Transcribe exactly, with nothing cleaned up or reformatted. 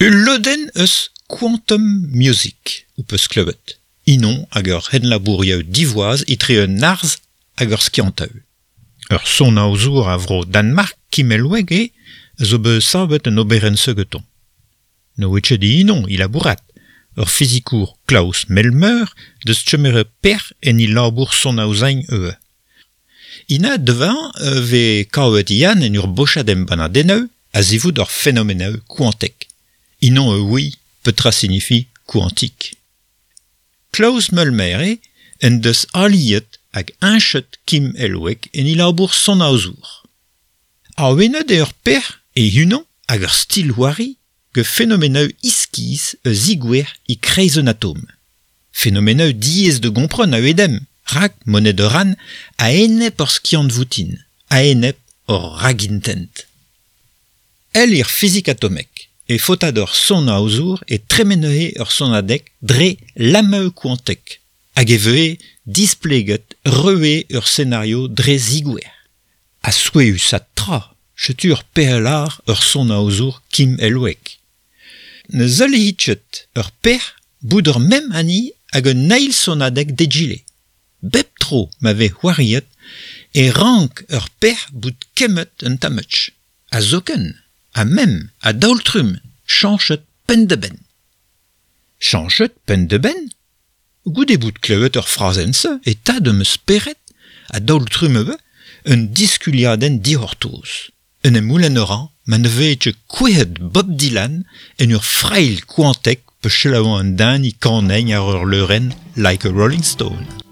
Ul lodenn eus Quantum Music ho peus klevet. Inon hag ur c'henlabourioù divoaz etre un arz hag ur skiantaoù. Ur sonaozour a vro Danmark Kim Elweg eo zo bet savet un oberenn segeton. Ne oa ket inon i labourat. Ur fizikour Klaus Melmer deus kemeret perzh en e labour sonaozañ ivez. Ina devant vez kavet Yann en ur bochad embannadennoù a-zivout ur fenomenoù kwantek. Inon e oui petra signifie kwantik. Klaus Melmer eo en deus aliet hag heñchet Kim Elweg en e labour sonaozour. Awenet eo ur perzh e-unan hag ur stil c'hoari gant fenomenoù iskis eus zigouer e-kreiz un atom. Fenomenoù diaes da gompren a-wedem, rak monet a ran a-enep hor skiant voutin, a-enep hor ragintent. El ir fizik atomek e faota d'ur sonaozour e tremenehe ur sonadeg dre lameu kwantek, hag e vehe displeget reue ur senario dre zigouer. Ha souezhus ha tra, setu ur pehelar ur sonaozour Kim Elweg. Ne zeuliit ket ur pec'h bout ur mem hani hag un eil sonadeg d'egile. Bep tro ma vez c'hoariet e rank ur pec'h bout kemmet un tammech. Ha zoken, ha mem, a daol-trumm, chañchet penn-da-benn. Chañchet penn-da-benn ? Goude bout klevet ur frazenn-se e ta d'am spered a daol-trumm ivez un diskuliadenn dic'hortoz. Un em goulenn a ran ma ne vez ket kouezhet Bob Dylan en ur frailh kwantek pe selaouañ an den e kanenn ar ur leurenn Like a Rolling Stone.